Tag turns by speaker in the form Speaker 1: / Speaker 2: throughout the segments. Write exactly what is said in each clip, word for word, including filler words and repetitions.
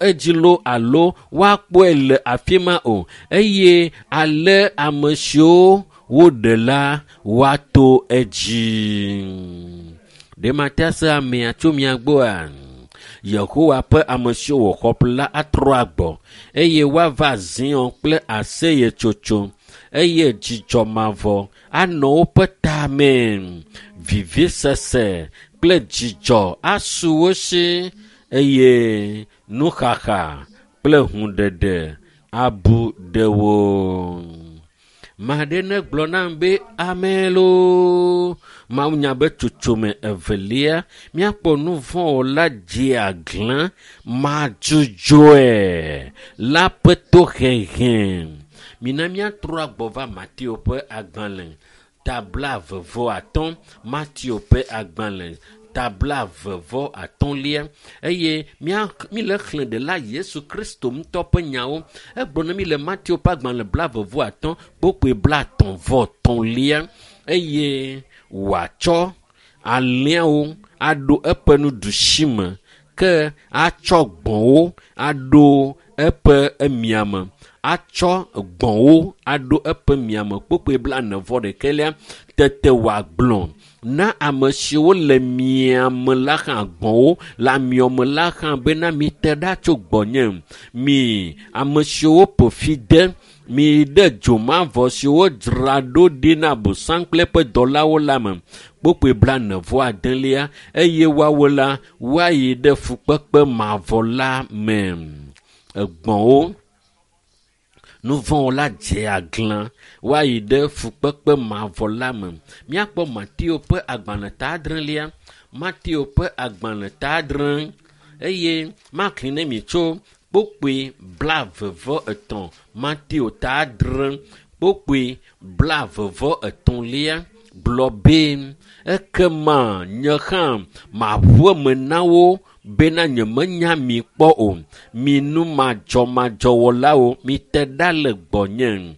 Speaker 1: Edzi loo alo woakpɔe le afi ma o eye ale ame siwo woɖe la woato edzi. Ɖe mate ase amea tso mia gbɔa? Yehowa ƒe ame siwo wòxɔ ƒle la atrɔ agbɔ eye woava Zion kple aseyetsotso eye dzidzɔ mavɔ anɔ woƒe tame. Vivisese kple dzidzɔ asu wo si eye nuxaxa kple hũɖeɖe abu ɖe wo. Maɖe negblɔ nam be amen loo. Mawunya be tsotsome evelia, míakpɔ nu vɔ̃ wɔla dzeaglã madzudzɔe la ƒe tohehe. Mina míatrɔ agbɔ va Mateo ƒe agbalẽ ta blaeve vɔ atɔ̃. Mateo ƒe agbalẽ ta blaeve vɔ atɔ̃lia eye mía míle xlẽ ɖela Yesu Kristo ŋutɔ ƒe nyawo. Egblɔ na mí le Mateo ƒe agbalẽ blaeve vɔ atɔ̃ kpokpoe blaetɔ̃ vɔ tɔ̃lia eye wòatsɔ alẽawo aɖo eƒe nuɖusi me ke atsɔ gbɔ̃wo aɖo eƒe emiame atsɔ gbɔ̃wo aɖo eƒe miame kpokpoe blaene vɔ ɖekɛlia tete wòagblɔ na ame siwo le miame la hã gbɔ̃wo le amiɔme la hã bena mite ɖa tso gbɔnye mi ame siwo ƒo fi de mi ɖe dzomavɔ siwo dzra ɖo ɖi na Abosam kple eƒe dɔlawo la me kpokpoe blaene vɔ adelia eye woawo la woayi ɖe fukpekpe mavɔ la me. Egbɔ̃wo nu vɔ̃ la dze aglã woayi ɖe fukpekpe mavɔ la me. Míakpɔ Mateo ƒe agbalẽ ta adrelia, Mateo ƒe agbalẽ ta adre eye maxlẽ ne mi tso kpokpoe blaeve vɔ etɔ̃. Mateo ta adre kpokpoe blaeve vɔ etɔ̃lia gblɔ be ekema nye hã maʋu eme na wo bena nyemenya mi kpɔ o. Mi nu madzɔmadzɔwɔlawo, mite ɖa le gbɔnye.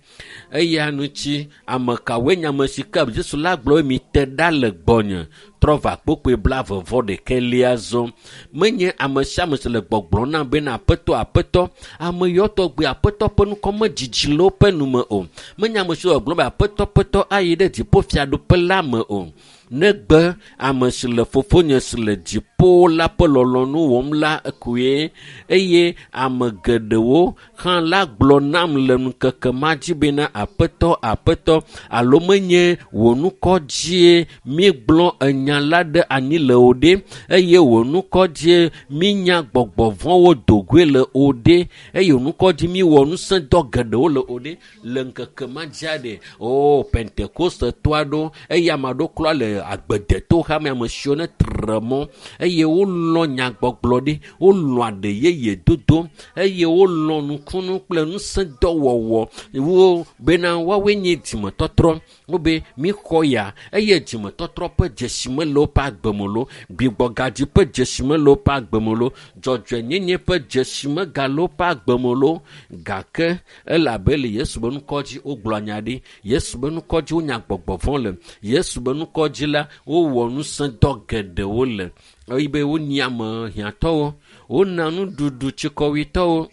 Speaker 1: Eya ŋuti ame kawoe nye ame si ke Yesu la gblɔ be mite ɖa le gbɔnye trɔ va kpokpoe blaeve vɔ ɖekɛlia zɔ. Menye ame sia ame si le gbɔgblɔm nam bena aƒetɔ aƒetɔ ame yawo tɔgbi aƒetɔ ƒe ŋkɔ medzidzi le woƒe nume o. Menye ame siwo le gbɔgblɔm be aƒetɔ aƒetɔ ayi ɖe dziƒofiaɖuƒe la me o. Negbe ame si le fofonye si le dziƒo la ƒe lɔlɔ̃nu wɔm la koe eye ame geɖewo hã la gblɔ nam le ŋkeke ma dzi bena aƒetɔ aƒetɔ alo menye wò ŋkɔ dzie míegblɔ enya la ɖe anyi le o ɖe eye wò ŋkɔ dzie míenya gbɔgbɔ vɔ̃wo dogoe le o ɖe eye wò ŋkɔ dzi míewɔ ŋusẽdɔ geɖewo le o ɖe le ŋkeke ma dzia ɖe o Pentekoste-tɔ aɖewo eye ame aɖewo klɔ le agbedeto hame ame siwo ne tre mɔ eye wolɔ̃ nyagbɔgblɔ ɖi wolɔ̃ aɖe yeye dodo eye wolɔ̃ nukunu kple ŋusẽdɔwɔwɔ wo bena woawoe nye dzimetɔtrɔ wobe míxɔ ya eye dzimetɔtrɔ ƒe dzesi mele woƒe agbe me loo gbigbɔgadzi ƒe dzesi mele woƒe agbe me loo dzɔdzɔenyenye ƒe dzesi megale woƒe agbe me loo gake elabe le Yesu be ŋkɔ dzi wogblɔ nya ɖi Yesu be ŋkɔ dzi wonya gbɔgbɔ vɔ̃ le Yesu be ŋkɔ dzi la wowɔ ŋusẽdɔ geɖewo le eye be wonyi ame hiãtɔwo wona nuɖuɖu tsikɔwuitɔwo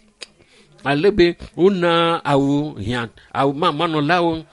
Speaker 1: ale be wona awu hiã awu mamanɔlawo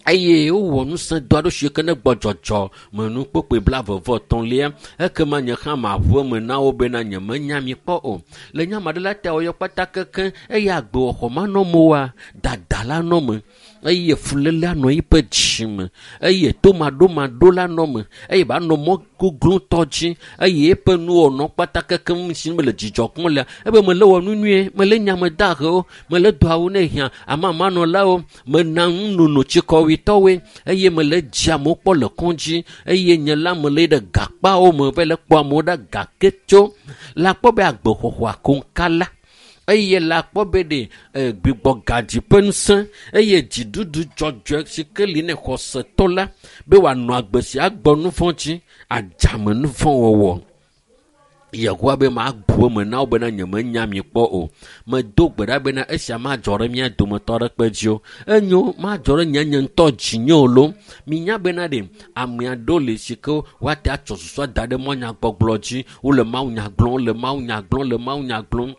Speaker 1: eye wowɔ ŋusẽdɔ aɖewo si ke ne gbɔdzɔdzɔ me nu kpokpoe blaeve vɔ etɔ̃lia ekema nye hã maʋu eme na wo bena nyemenya mi kpɔ o le nya ma ɖe la ta wɔyɔ kpata keke eye agbewɔxɔ manɔ me oa dada la nɔ me eye fuléle anɔ eƒe dzi me eye tomaɖomaɖo la nɔ me eye ba nɔ mɔ goglotɔ dzi eye eƒe nuwɔnɔ kpata keke si mele dzidzɔ kpɔm lea ebe mele wɔ nu nyuie mele nyame dahewo mele do awu ne hiã amamanɔlawo mena nunono tsikɔwuitɔwoe eye mele dzi amewo kpɔ le kɔdzi eye nye la mele ɖe gakpawo me va le kpɔ amewo ɖe gake tso la kpɔ be agbexɔxɔ akoŋka la eye la kpɔ be ɖe gbigbɔgadzi ƒe ŋusẽ eye dziɖuɖu dzɔdzɔe si ke li ne xɔsetɔ la be wòanɔ agbe sia gbɔ nu vɔ̃ dzi adzame nu vɔ̃ wɔwɔ Yehowa be mabu eme na wo bena nyemenya mi kpɔ o. Medo gbe ɖa bena esia madzɔ ɖe mía dometɔ aɖeke dzi o. Enyo madzɔ ɖe nye nye ŋutɔ dzinye o loo. Minya bena ɖe ame aɖewo li si ke woate atsɔ susua da ɖe mɔnyagbɔgblɔ dzi. Wole mawunya gblɔm, le mawunya gblɔm, le mawunya gblɔm.